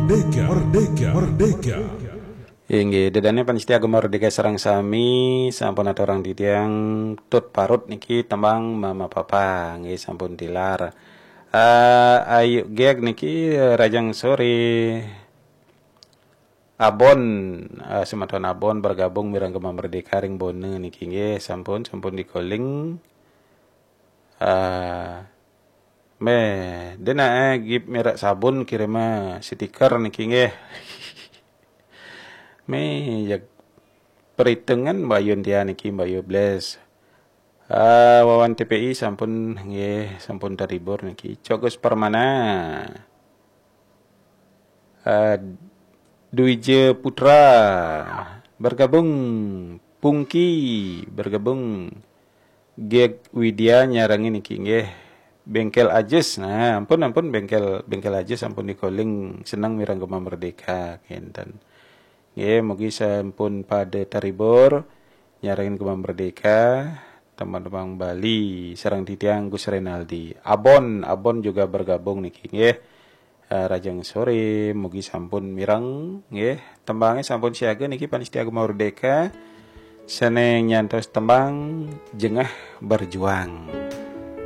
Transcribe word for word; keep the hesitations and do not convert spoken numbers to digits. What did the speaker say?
Merdeka, merdeka, merdeka. Inggih, ida dané pamiarsa Gema Merdeka sareng sami, sampun aturang titiang tut parut niki tembang Mama Papa, nggih sampun tilar. Eh, Ayu Gek niki, eh, rahajeng soré. Abon, eh, semeton Abon bergabung mireng Gema Merdeka ring Bone niki nggih, sampun, sampun di-calling. Eh, méh, déna, eh, gift merek sabun kirim, eh, stiker niki nggih. Méh, ya perhitungan Mbak Yuntia niki, Mbak Yubles. Eh, Wawan T P I sampun nggih, sampun terhibur niki. Cokus Permana. Eh, Dwija Putra bergabung, Pungki bergabung, Gek Widya nyarengin niki nggih. Bengkel Ajis. Nah, ampun, ampun, Bengkel, Bengkel Ajis sampun di-calling, seneng mireng Gema Merdeka kénten. Nggih, mugi sampun pada terhibur nyarengin Gema Merdeka, teman-teman Bali sareng titiang Gus Renaldi. Abon, Abon juga bergabung niki nggih. Eh, rahajeng soré, mugi sampun mireng nggih. Tembangé sampun siaga niki pamiarsa Gema Merdeka. Sané nyantos tembang Jengah Berjuang.